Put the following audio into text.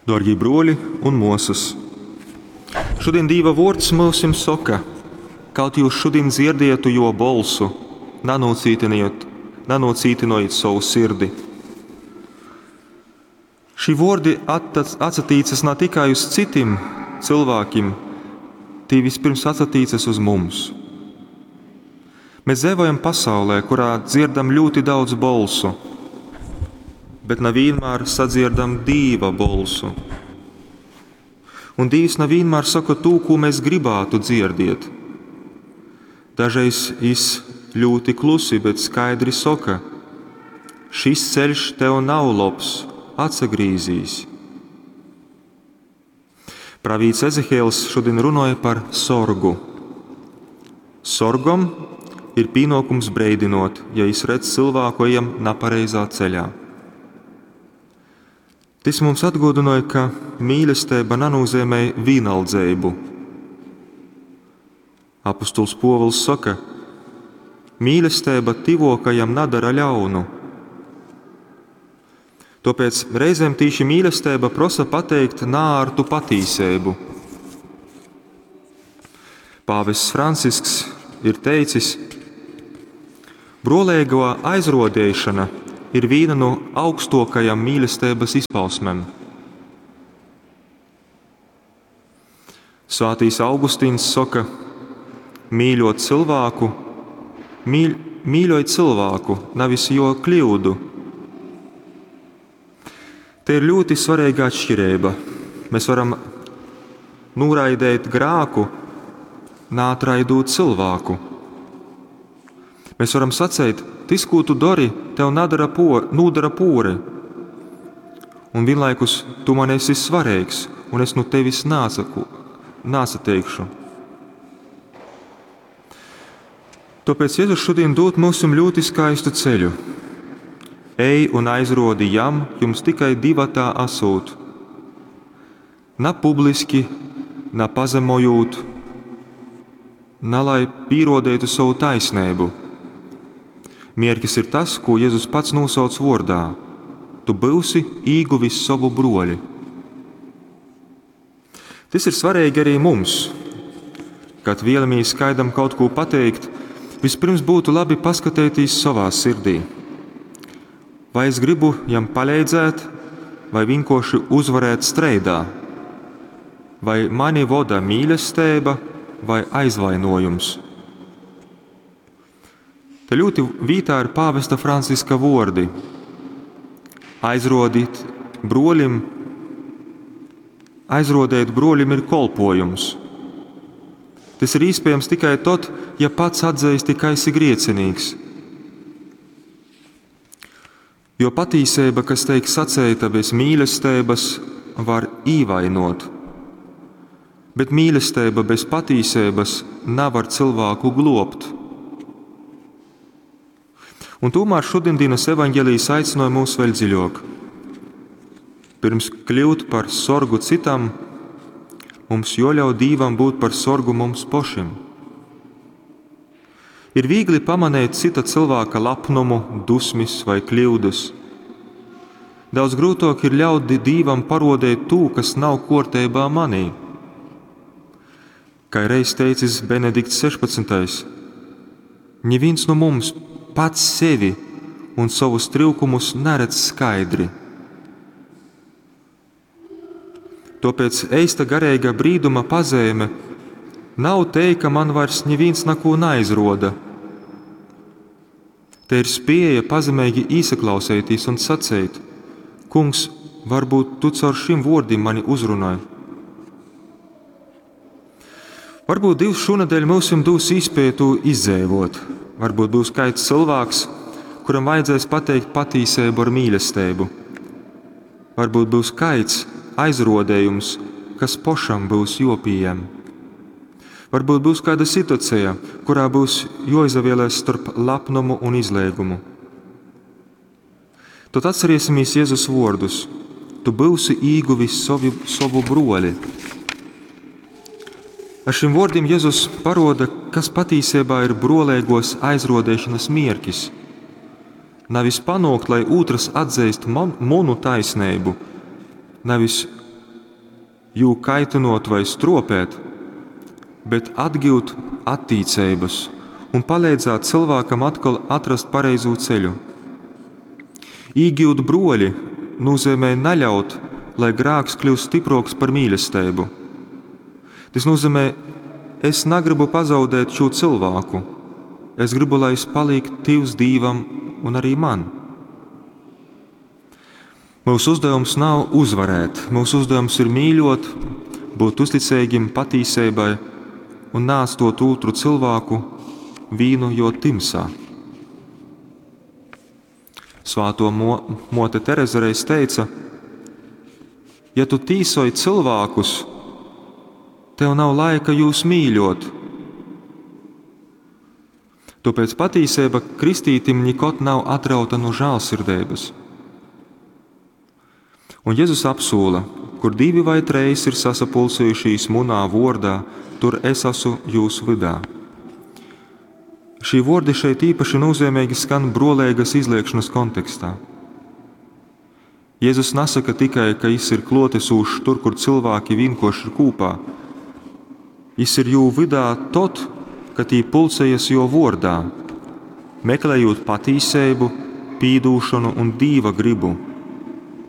Dārgie bruoli un muosys, šodien Dīva vuords myusim soka, kaut jūs šodien dzirdietu jo bolsu, nanūcītynojit sovu sirdi. Šī vuordi atsatīcas ne tikai uz citim cilvēkiem, tī vispirms atsatīcas uz mums. Mēs dzīvojam pasaulē, kurā dzirdam ļoti daudz bolsu, bet ne vienmēr sadzirdam Dīva bolsu. Un Dīvs ne vienmēr saka to, ko mēs gribētu dzirdēt. Dažreiz jis ļoti klusi, bet skaidri saka: šis ceļš tev nav labs, atsagrīzīs. Pravīts Ezehēls šodien runāja par sorgu. Sorgam ir pienākums breidinot, ja jis redz cilvēku ejam nepareizā ceļā. Tas mums atgādināja, ka mīlestība nenozīmē vienaldzību. Apostols Pōvils saka, mīlestība tivokajam nadara ļaunu. Tāpēc reizēm tīši mīlestība prosa pateikt nārtu patīsību. Pāvests Francisks ir teicis, brolēgo aizrodēšana ir viena no augstākajām mīlestības izpausmēm. Svētīs Augustīns saka, mīļot cilvēku, mīļoj cilvēku, nevis jo kļūdu. Te ir ļoti svarīga atšķirība. Mēs varam noraidīt grāku, nātraidot cilvēku. Mēs varam sacīt, tas, ko tu dari, tev nadara por, nodara pori. Un vienlaikus tu man esi svarīgs, un es no tevis nāsateikšu. Tāpēc Jēzus šodien dod mums ļoti skaistu ceļu. Ej un aizrodi jam, jums tikai divatā asūt. Na publiski, na pazemojot, na lai pierodētu savu taisnību. Mierkis ir tas, ko Jēzus pats nosauc vārdā. Tu būsi īguvis savu broļi. Tas ir svarīgi arī mums. Kad vēlamies kādam kaut ko pateikt, vispirms būtu labi paskatīties savā sirdī. Vai es gribu jam palīdzēt, vai vienkārši uzvarēt streidā? Vai mani voda mīlestība vai aizvainojums? Te ļoti vītā ir pāvesta Franciska vordi. Aizrodīt broļim, aizrodēt broļim ir kolpojums. Tas ir iespējams tikai tad, ja pats atzīsti, ka esi griecinīgs. Jo patīsība, kas teik sacēta bez mīlestības, var īvainot. Bet mīlestība bez patīsības nevar cilvēku globt. Un tomēr šodienas evaņģēlijs aicināja mūs vēl dziļāk. Pirms kļūt par sorgu citam, mums joļauj Dīvam būt par sorgu mums pašiem. Ir viegli pamanīt cita cilvēka lepnumu, dusmis vai kļūdas. Daudz grūtāk ir ļaut Dīvam parodēt to, kas nav kārtībā manī. Kā reiz teicis Benedikts 16. Neviens no mums pats sevi un savus trūkumus neredz skaidri. Tāpēc eista garīga brīduma pazīme nav te, ka man vairs neviens neko neizroda. Te ir spēja pazemīgi īsaklausīties un sacīt: Kungs, varbūt tu caur šim vārdiem mani uzrunāji. Varbūt Dievs šonadēļ mums dos iespēju to izdzīvot. Varbūt būs kāds cilvēks, kuram vajadzēs pateikt patīsību ar mīlestību. Varbūt būs kāds aizrodējums, kas pašam būs jopījam. Varbūt būs kāda situācija, kurā būs joizavēlēs starp lepnumu un izliegumu. Tad atcerēsimies Jēzus vārdus: Tu būsi īguvis savu broli. Ar šiem vārdiem Jēzus paroda, kas patiesībā ir brolēgos aizrodēšanas mierkis. Nevis panākt, lai otrs atzīst manu taisnību, nevis jū kaitynōt vai strōpēt, bet atgyut attīceibas un paleidzāt cylvākam atkal atrast pareizū ceļu. Īgyut brōli nūzeimej naļaut, lai grāks kļyust styprōks par mīlesteibu. Tys nūzeimej, es nagrybu pazaudēt šū cylvāku, es grybu, lai jys palīk tyvs Dīvam un arī man. Myusu uzdevums nav uzvarēt, myusu uzdevums ir mīļot, būt uzticeigim patīseibai un neatstot ūtru cylvāku vīnu jo tymsā. Svāto mote Tereze reiz teica, ja tu tīsoj cilvēkus, tev nav laika jūs mīļot. Tāpēc patīseiba kristītim nikod nav atrauta no žēlsirdeibas. Un Jēzus apsūla, kur divi vai treis ir sasapulcējušīs munā vordā, tur es esmu jūsu vydā. Šī vordi šeit īpaši nozīmīgi skan brolēgas izliekšanas kontekstā. Jēzus nesaka tikai, ka jis ir klotesūšs tur, kur cilvēki vienkoši ir kūpā. Jis ir jū vydā tot, kad tī pulcējas jo vordā, meklējot patīseibu, pīdūšanu un dīva gribu.